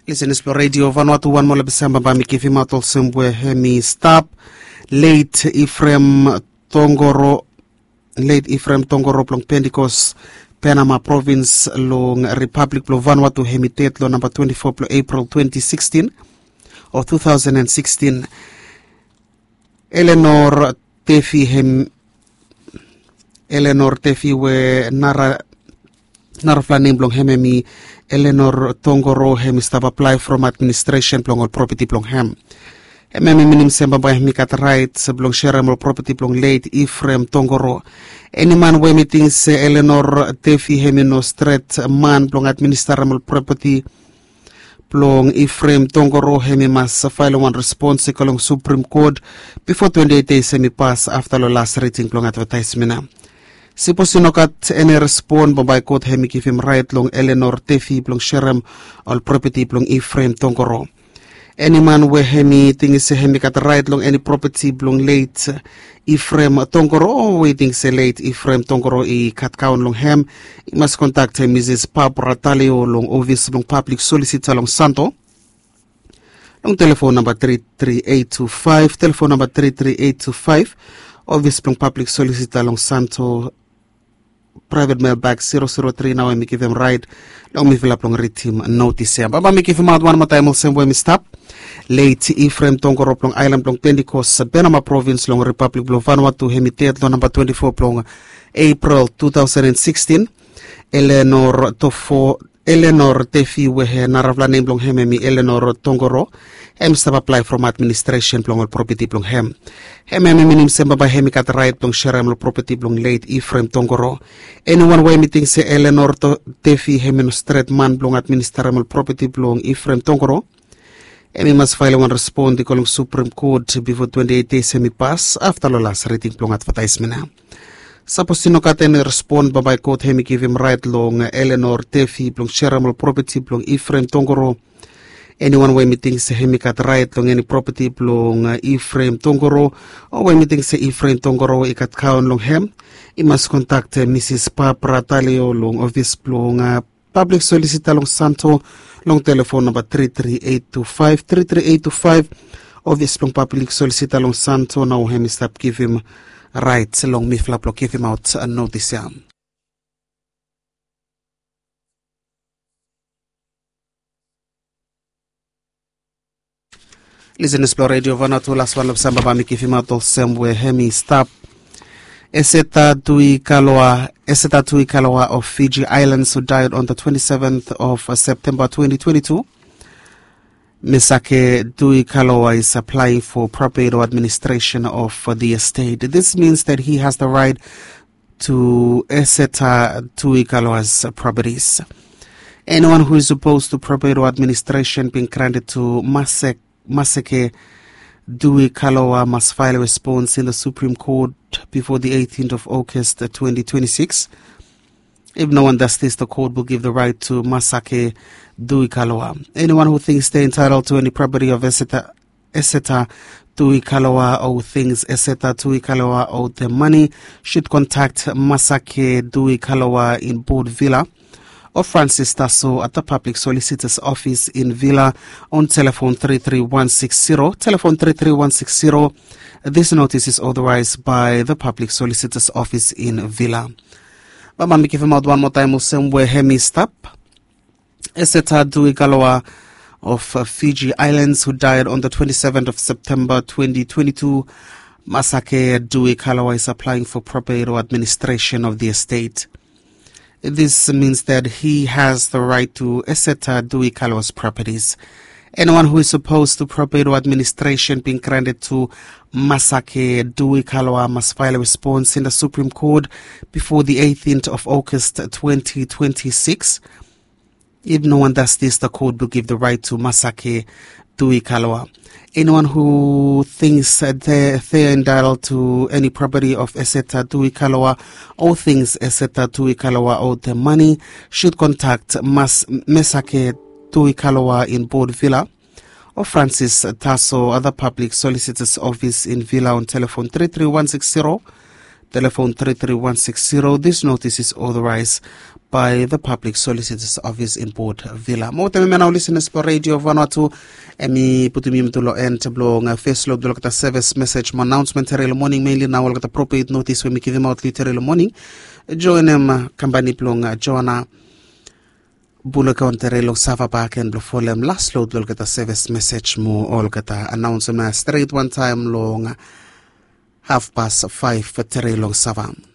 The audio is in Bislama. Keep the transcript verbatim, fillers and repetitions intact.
Lisenis blong redio Vanuatu, wan moa lapisamba bae mi givimaot olsem we hemi stap. Leit Ifrem Tongoro, Leit Ifrem Tongoro blong Pentikos, Penama provins long Ripablik blong Vanuatu, hemi ded long namba twenti fo blong Epril twenti sikstin o tu taosen en sikstin. Eleanor Tefi hem Eleanor Tefi we nara narafala nem blong hem hemi Eleanor Tongoro, hemi stap aplae from administresen blong ol propeti blong hem. Hem hemi minim se bambae hemi gat raet blong serem ol propeti blong leit Ifrem Tongoro. Eni man we hemi ting se Eleanor Tefi hemi no stret man blong administarem ol propeti blong Ifrem Tongoro, hemi mas faelem wan respons i go long Suprem Kot bifo twenti eit dei hemi pas afta long las riding blong advetaesmen ya. Sipos i no gat eni respon, bambae kot hemi givim raet long Eleanor Tefi blong serem ol propeti blong Ifrem Tongoro. Eni man we hemi ting se hemi gat raet long eni propeti blong leit Ifrem Tongoro, o we i ting se leit Ifrem Tongoro i katkaon long hem, i mas kontaktem Misis Barbara Talio long ofis blong pablik solisita long Santo long telefon namba tri tri eit tu faef, telefon namba tri tri eit tu faef. Ofis blong pablik solisita long Santo, praevet melbak siro siro tri, nao hemi givim raet long mifala blong ridim notis ya. Bambae mi givimaot wan moa taem olsem we hemi stap. Leit Ifrem Tongoro blong aelan blong Pentikos, Penama provins long Ripablik blong Vanuatu, hemi ded long namba twenti fo blong Epril tu taosen en sikstin. Eleanor Tofo Eleanor Tefi we narafala nem blong hem hemi Eleanor Tongoro, hem stap aplae from administresen blong ol propeti blong hem. Hem hemi minim se bambae hemi gat raet blong serem ol propeti blong leit Ifrem Tongoro. Eniwan we hemi ting se Eleanor To- Tefi hemi no stret man blong administarem ol propeti blong Ifrem Tongoro, hemi mas faelem wan respon i go long Suprem Kot bifo twenti eit dei hemi pas afta long las riding blong advetaesmen ya. Sapos i no gat eni respon, bambae kot hemi givim raet long Eleanor Tefi blong serem ol propeti blong Ifrem Tongoro. Eniwan we hemi ting se hemi gat raet long eni propeti blong Ifrem Tongoro, o we hemi ting se Ifrem Tongoro i katkaon long hem, i mas kontaktem Misis Barbara Talio long ofis blong pablik solisita long Santo long telefon namba tri tri eit tu faef, tri tri eit tu faef. Ofis blong pablik solisita long Santo nao hemi stap givim raet long mifala blong givimaot notis ya. Lisenis blong redio Vanuatu, laswan long samba bae mi givimaot olsem we hemi stap. Eseta Dui Kaloa, Eseta Dui Kaloa of Fiji Islands, who died on the twenty-seventh of September twenty twenty-two. Misake Dui Kaloa is applying for property or administration of the estate. This means that he has the right to Eseta Dui Kaloa's properties. Anyone who is opposed to property or administration being granted to Masek Maseke Dui Kaloa must file a response in the Supreme Court before the eighteenth of August, uh, twenty twenty-six. If no one does this, the court will give the right to Masake Dui Kaloa. Anyone who thinks they're entitled to any property of Eseta, Eseta Dui Kaloa or who thinks Eseta Dui Kaloa owed them money should contact Masake Dui Kaloa in Board Villa or Francis Tasso at the Public Solicitor's Office in Villa on telephone three three one six zero, telephone three three one six zero. This notice is authorized by the Public Solicitor's Office in Villa. Bambae mi givimaot wan moa taem olsem we hemi stap. Eseta Dui Kaloa of, uh, Fiji Islands, who died on the twenty-seventh of September twenty twenty-two. Masake Dui Kaloa is applying for property or administration of the estate. This means that he has the right to Eseta Dui Kaloa's properties. Anyone who is opposed to property or administration being granted to Masake Dui Kaloa must file a response in the Supreme Court before the eighteenth of August twenty twenty-six. If no one does this, the court will give the right to Masake Dui Kaloa. Anyone who thinks that they, they are entitled to any property of Eseta Dui Kaloa or thinks Eseta Dui Kaloa owed them money should contact Mas-, Mesake Dui Kaloa in Board Villa or Francis Tasso at the Public Solicitor's Office in Villa on telephone three three one six zero, telephone three three one six zero. This notice is authorized by the Public Solicitor's Office in Port Vila. Mo wetem hemia nao, listeners blong Radio Vanuatu, hemi putum yumi tu long en blong fes lod blong olgeta sevis mesej mo anaonsmen tere long moning, mainly nao olgeta propet notis we mi givimaot long yu tere long moning. Joenem kampani blong Joana Bulukaun tere long Sava baken blong folem las lod blong olgeta sevis mesej mo olgeta anaonsmen stret wantaem long hafpas faef tere long Sava.